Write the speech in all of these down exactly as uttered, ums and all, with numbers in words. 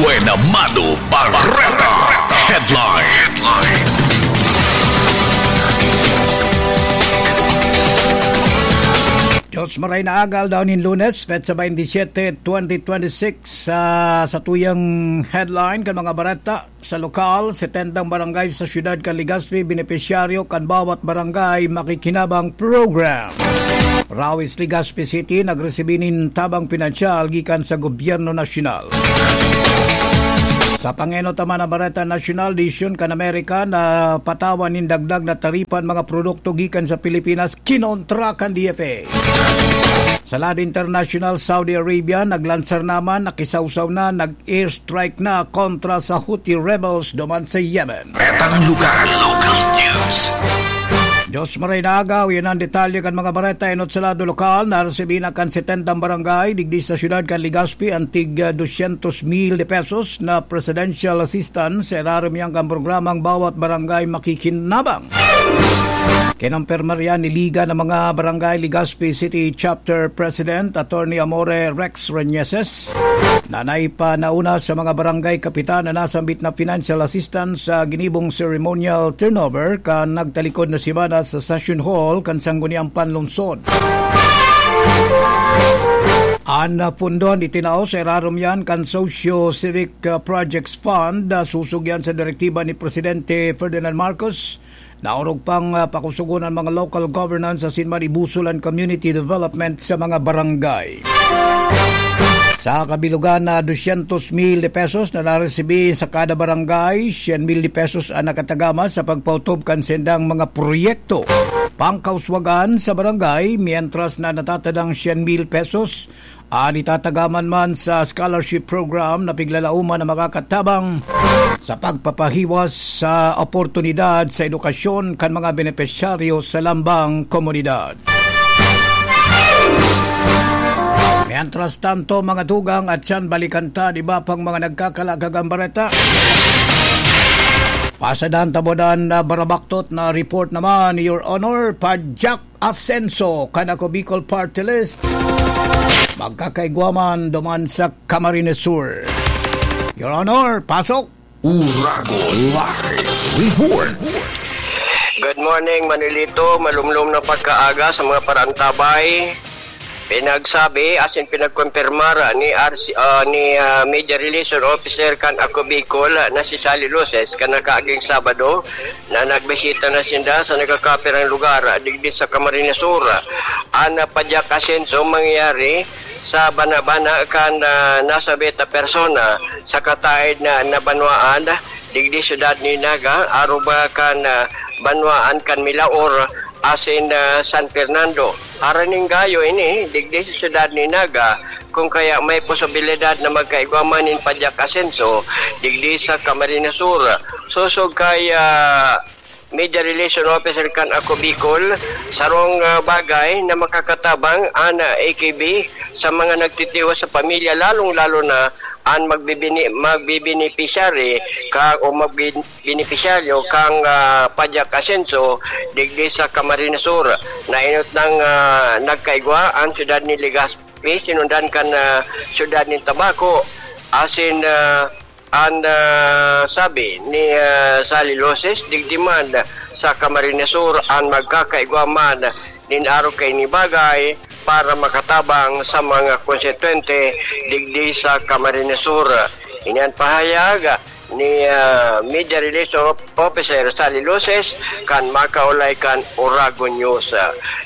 Buena Mano Bareta Headline. Diyos maray na aga, aldaw nin Lunes, petsa twenty-seven, twenty twenty-six. Sa, sa tuyang headline kan mga bareta, sa lokal, setenta barangay sa siyudad kan Legazpi benepisyaryo kan Bawat Barangay Makikinabang Program. Rawis, Legazpi City, nagresibi nin tabang pinansyal gikan sa gobyerno nasyonal. Sa pangenot naman na bareta nasyonal, desisyon kan Amerika na patawan nin dagdag na taripa an mga produkto gikan sa Pilipinas kinontra kan D F A. Sa lado internasyonal, Saudi Arabia naglansar naman, nakisawsaw na, nag-airstrike na kontra sa Houthi rebels duman sa Yemen. Petang lugar, local news. Diyos maray na aga, yan ang detalye kan mga bareta. Enot sa lado lokal, naresibi na kan setenta barangay digdi sa siyudad kan Legazpi an tig, ah, dosyentos mil de pesos na presidential assistance sa irarom yan kan programang Bawat Barangay Makikinabang. Kinumpirma riyan ni Liga ng mga Barangay Legazpi City Chapter President Attorney Amore Rex Reñeses na naipanauna sa mga barangay kapitan na nasambit na financial assistance sa ginibong ceremonial turnover kan nagtalikod na semana sa Session Hall kan Sangguniang Panlungsod. An, ah, pondo an itinao sa irarom yan kan Socio-Civic, ah, Projects Fund, ah, susog yan sa direktiba ni Presidente Ferdinand Marcos. Naorog pang, ah, pakusugon an mga local governance asin man ibusol an community development sa mga barangay. Sa kabilugan na dosyentos mil de pesos na naresibi sa kada barangay, syen mil de pesos an nakatagama sa pagpaotob kan sendang mga proyekto pangkauswagan sa barangay, mientras na natatadang syen mil pesos an itatagaman man sa scholarship program na piglalauman na makakatabang sa pagpapahiwas sa oportunidad sa edukasyon kan mga benepisyaryo sa lambang komunidad. Mientras tanto, mga tugang, at siyan balikan ta, di ba, pang mga nagkakalagagang bareta. Pasadan tabodan na barabaktot na report naman, Your Honor, Pajak Asenso, kan Ako Bicol Party List. Magkakaigwa man duman sa Camarines Sur. Your Honor, pasok! Uragon Live Report. Good morning, Manilito. Malumlom na pagkaaga sa mga paraantabay. Pinagsabi asin pinagkumpirmar ni R C, ah, ni, ah, Media Relation Officer kan Ako Bicol na si Sally Luces kan nakaaging Sabado na nagbisita na sinda sa nagkakapirang lugar digdi sa Camarines Sur. An Pajak Asenso mangyayari sa bana-bana kan, ah, nasabit na persona sa kataed na, na banwaan digdi syudad ni Naga, aruba kan, ah, banwaan kan Milaor asin, ah, San Fernando. Aram nin gayo ini digdi sa syudad ni Naga, kung kaya may posibilidad na magkaigwa man nin Pajak Asenso digdi sa Camarines Sur. Sosog kay, ah, Media Relation Officer kan Ako Bicol, sarong, ah, bagay na makakatabang an, ah, A K B sa mga nagtitiwas sa pamilya, lalong-lalo na an magbibini-, magbibenepisyari ka, o magbi-, benepisyaryo kan, ah, Pajak Asenso digdi sa Camarines Sur. Nainot nang, ah, nagkaigwa an syudad ni Legazpi, sinundan kan, ah, syudad nin Tabaco, asin, ah, An, ah, sabi ni, ah, Sally Luces, digdi man sa Camarines Sur an magkakaigwa man nin arog kaini bagay para makatabang sa mga konstituyente digdi sa Camarines Sur. Ini an pahayag ni, ah, Media Relation Officer Sally Luces kan makaulay kan Oragon News.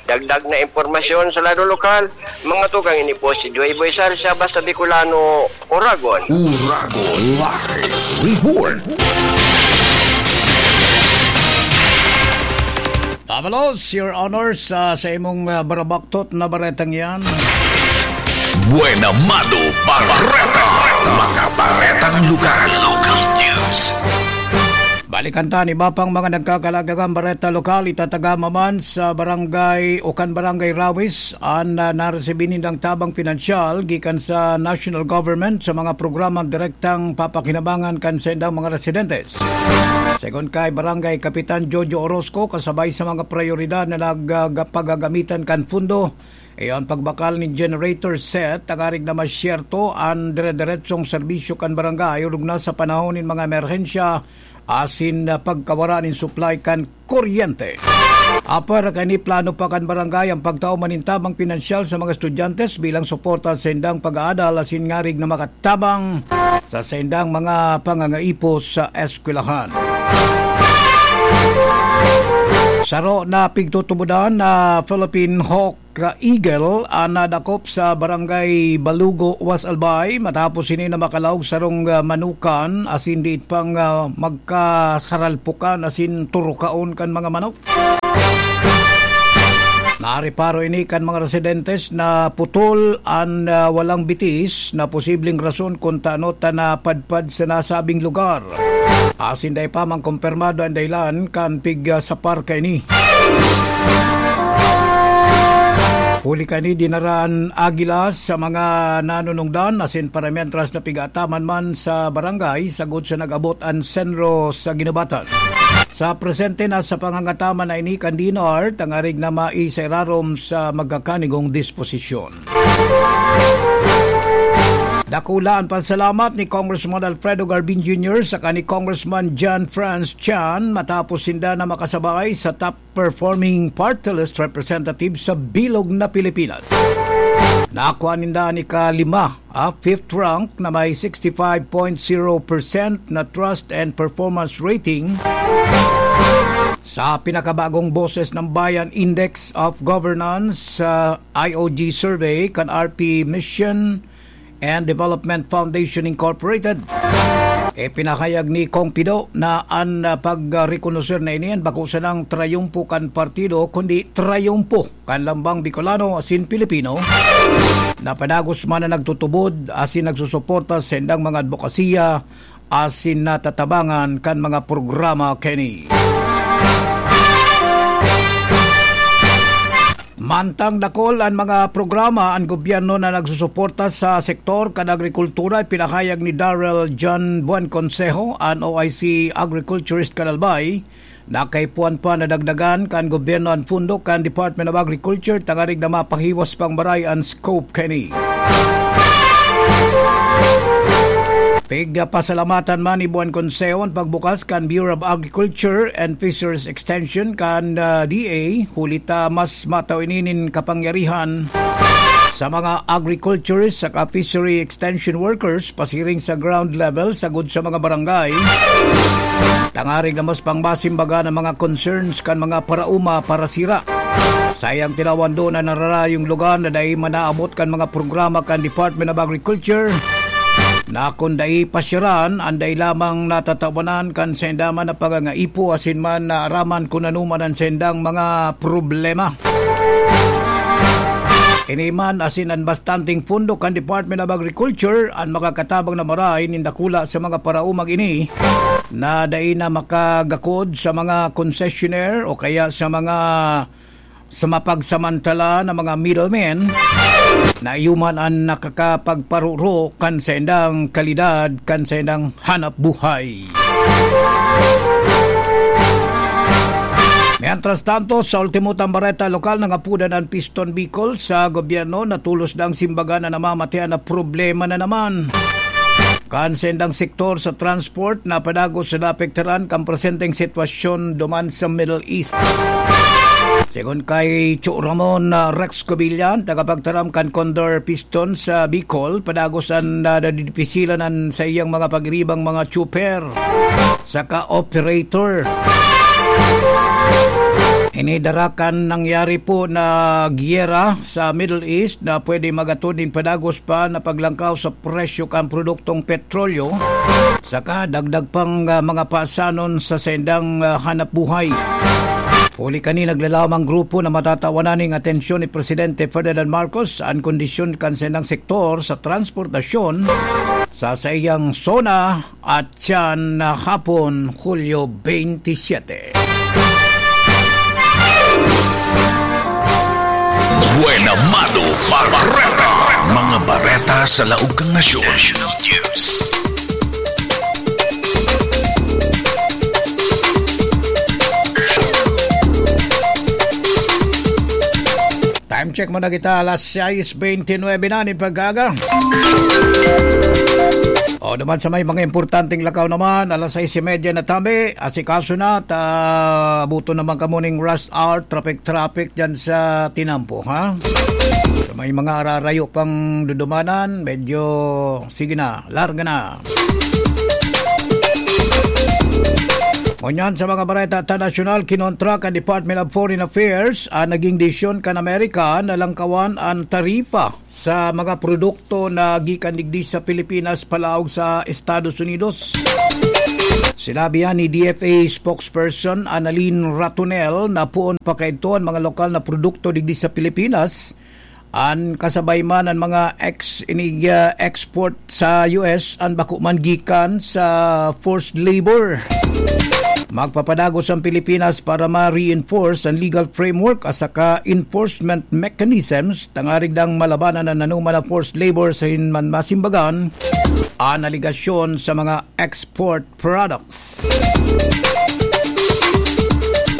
Dagdag na impormasyon sa lado lokal, mga tugang, ini po si Joy Boy Sarsia, basta Bicolano, Oragon. Uragon Live Report. Dabalos, Your Honor, sa, sa imong, ah, barabaktot na baretang yan. Buena Mano Bareta. Mga baretang lugar. Local news. Balikan ta an iba pang mga nagkakalagagang bareta lokal. Itatagama man sa barangay o kan Barangay Rawis an, ah, naresibi nindang tabang pinansyal gikan sa national government sa mga programang direktang papakinabangan kan saindang mga residentes. Segun kay Barangay Kapitan Jojo Orozco, kasabay sa mga prayoridad na nag-, ah, pagagamitan kan fundo, Iyo an pagbakal nin generator set, tangarig na masyerto an dire-diretsong serbisyo kan barangay, orog na sa panahon nin mga emerhensya, asin, ah, pagkawara nin supply kan kuryente. Apwera kaini, plano pa kan barangay ang pagtao man nin tabang pinansyal sa mga estudyante bilang suporta sa indang pag-aadal, asin ngarig na makatabang sa saindang mga pangangaipo sa eskwelahan. Saro na pigtutubodan na Philippine Hawk Eagle an nadakop sa Barangay Balugo, Was Albay, matapos ini na makalaog sarong, ah, manukan asin diit pang, ah, magkasaralpukan asin turukaon kan mga manok. Nareparo ini kan mga residentes na putol an, ah, walang bitis na posibleng rason kun tano ta napadpad sa nasabing lugar. Asin dai pa man kumpirmado an dahilan kan pig, ah, sapar kaini. Huli kaini, dinara an agila sa mga nanunungdan asin paramientras na pig-aataman man sa barangay sagod sa nag-abot an senro sa ginubatan. Sa presente, nasa pangangataman na ini kan D N R, tangarig na maisairarom sa magkakanigong disposisyon. Dakula an pasalamat ni Congressman Alfredo Garbin Junior saka ni Congressman John Franz Chan matapos sinda na makasabay sa top performing party list representative sa bilog na Pilipinas. Nakuha ninda an ikalima, ah, fifth rank na may sixty-five point zero percent na trust and performance rating sa pinakabagong Boses ng Bayan Index of Governance, ah, I O G survey kan R P Mission and Development Foundation Incorporated. Ipinahayag ni Kong Pido na an, ah, pagrekonoser na ini an bako sanang trayumpo kan partido, kundi trayumpo kan lambang Bicolano asin Pilipino na padagos man na nagtutubod asin nagsusuporta sa indang mga adbokasiya asin natatabangan kan mga programa kaini. Mantang dakul an mga programa an gobyerno na nagsusuporta sa sektor kan agrikultura, ipinahayag ni Darrell John Buenconsejo, an O I C agriculturist kan Albay, na kaipuhan pa na dagdagan kan gobyerno an pondo kan Department of Agriculture tangarig na mapahiwas pang maray an scope kaini. Pigpasalamatan man ni Buenconsejo an pagbukas kan Bureau of Agriculture and Fisheries Extension kan, ah, D A, huli ta mas matao ini nin kapangyarihan sa mga agriculturist saka fishery extension workers pasiring sa ground level sagod sa mga barangay, tangarig na mas pangmasimbagan ang mga concerns kan mga paraoma parasira. Saiyang tinawan, duon na nararayong lugar na dai manaabot kan mga programa kan Department of Agriculture, na kun dai pasyaran, an dai lamang natatawanan kan sainda man na pangangaipo asin man naaraman kun ano man an saindang mga problema. Ini man asin an bastanteng pondo kan Department of Agriculture an makakatabang na maray nin dakula sa mga paraomang ini na dai na makagakod sa mga concessionaire o kaya sa mga sa mapagsamantala na mga middlemen na iyo man an nakakapagparuro kan saindang kalidad kan saindang hanap buhay. Mientras tanto, sa ultimo tang bareta lokal, nangapodan an Piston Bicol sa gobyerno na tolos na an simbagan na namamatean na problema na naman kan saindang sektor sa transport na padagos na naapektaran kan presenteng sitwasyon duman sa Middle East. Segun kay Cho Ramon, ah, Rex Cobillan, tagapagtaram kan Condor Piston sa Bicol, padagos an, ah, nadidipisilan an saiyang mga pagiribang mga tsuper saka operator. Ini dara kan nangyari po na giyera sa Middle East na pwede magatod nin padagos pa na paglangkaw sa presyo kan produktong petrolyo, saka dagdag pang, ah, mga pasanon sa saindang, ah, hanap buhay. Huli kani, naglalamang grupo na matatawanan ning atensyon ni Presidente Ferdinand Marcos an kondisyon kan saindang sektor sa transportasyon sa saiyang zona at siyan na hapon, Hulyo twenty-seven. Buena Mano Bareta. Mga bareta sa laog kan nasyon. National News. Time check. Mo na kita, alas sais beintinuebe na nin pag-aga. O, duman sa may mga importanteng lakaw naman, alas sais y media na tabi, asikaso na, ta abuton naman kamo ning rush hour, traffic-traffic dyan sa tinampo, ha? Sa may mga ararayo pang dudumanan, medyo, sige na, larga na. Ngunyan sa mga bareta ta nasyonal, kinontra kan Department of Foreign Affairs an naging desisyon kan Amerika na langkawan an tarifa sa mga produkto na gikan digdi sa Pilipinas palaog sa Estados Unidos. Sinabi yan ni D F A spokesperson Annalyn Ratonel na poon pa kaidto an mga lokal na produkto digdi sa Pilipinas, an kasabay man an mga ex-, inig-, ah, export sa U S an bako man gikan sa forced labor. Magpapadagos ang Pilipinas para ma-reinforce ang legal framework at saka enforcement mechanisms tangarig dang malabanan an anoman na forced labor sa hinman masimbagan an aligasyon sa mga export products.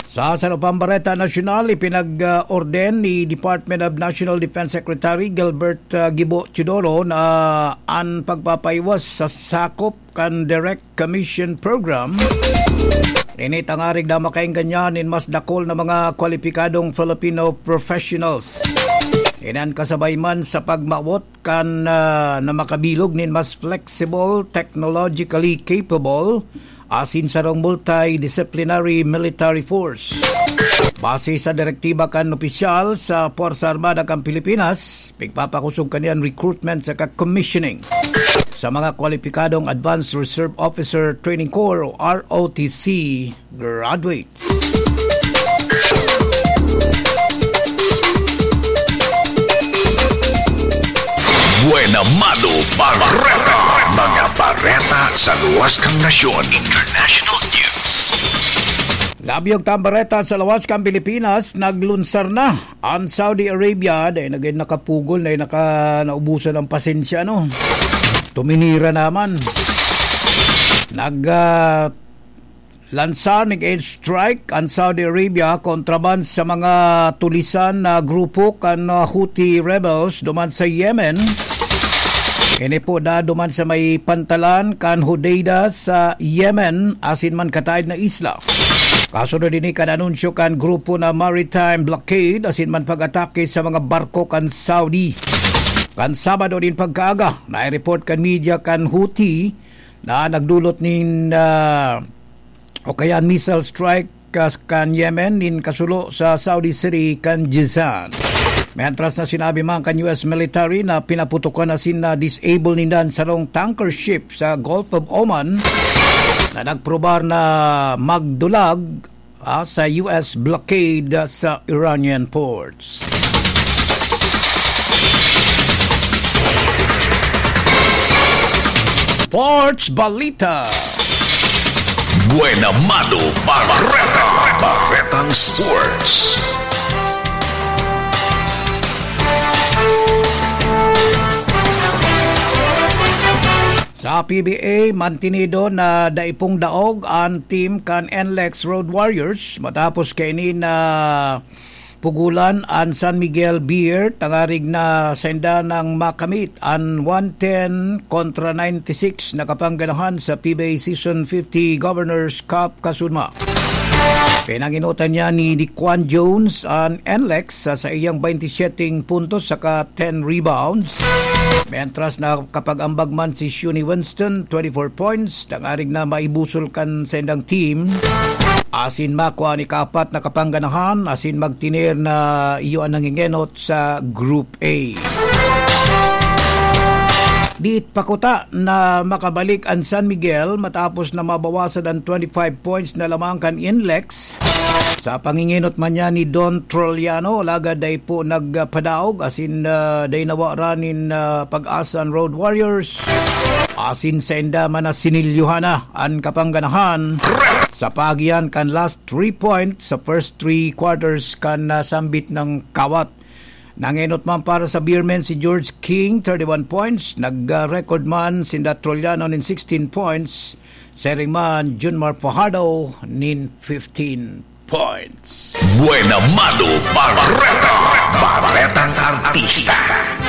Sa sarong pambareta nasyonal, ipinag-orden ni Department of National Defense Secretary Gilbert, ah, Gibo Teodoro na an pagpapaiwas sa sakop kan Direct Commission Program, ini tangarig na makaengganyan nin mas dakol na mga kwalipikadong Filipino professionals. Inan kasabay man sa pagmawot kan, ah, na makabilog nin mas flexible, technologically capable, asin sarong multidisciplinary military force. Base sa direktiba kan opisyal sa Puwersa Armada kan Pilipinas, pigpapakosog kaniyan recruitment saka commissioning sa mga kwalipikadong Advanced Reserve Officer Training Corps o R O T C graduates. Buena Mano Bareta. Mga bareta sa luwas kan nasyon. International news. Labi og tambareta sa lawas kan Pilipinas, naglunsar na an Saudi Arabia. Dai na gayud nakapugol, dai naka-, naubusan ang pasensya, no? Tuminira naman. Nag, ah, lansa ning air strike an Saudi Arabia kontra man sa mga tulisan na grupo kan, ah, Houthi rebels duman sa Yemen. Ini po da duman sa may pantalan kan Hodeidah sa Yemen, asin man kataed na isla. Kasunod ini kan anunsyo kan grupo na maritime blockade asin man pag-atake sa mga barko kan Saudi. Kan Sabado nin pagkaaga, nai-report kan media kan Houthi na nagdulot nin, ah, o kaya missile strike kas-, kan Yemen nin kasulo sa Saudi city kan Jizan. Mientras na sinabi man kan U S military na pinaputokan asin na-disable ninda an sarong tanker ship sa Gulf of Oman na nagprobar na magdulag, ah, sa U S blockade sa Iranian ports. Sports Balita. Buena Mano Bareta. Baretang Sports. Sa P B A, mantinido na dai pong daog an team kan N L E X Road Warriors matapos kaini na pugulan an San Miguel Beer, tangarig na sainda nang makamit an one ten kontra ninety-six na kapangganahan sa P B A Season fifty Governor's Cup kasunma. Pinangenotan niya ni Dequan Jones an N L E X sa saiyang twenty-seven puntos saka ten rebounds. Mientras na kapag-ambag man si Shuni Winston, twenty-four points, tangarig na maibusol kan saindang team. Asin makua an ikapat na kapangganahan, asin magtener na iyo an nangengenot sa Group A. Diit pa kuta na makabalik an San Miguel matapos na mabawasan an twenty-five points na lamang kan N L E X. Sa pangingenot man niya ni Don Trollano, alagad dai po nagpadaog, asin, ah, dai nawaran nin, ah, pag-asa an Road Warriors. Asin sainda man na sinilyohan na an kapangganahan sa pagiyan kan last three points sa first three quarters kan, ah, sambit ng kawat. Nangenot man para sa Beermen si George King, thirty-one points. Nag-record man sinda Trollano nin sixteen points. Siring man, Junmar Fajardo nin fifteen points. Buena Mano Bareta, Baretang Artista.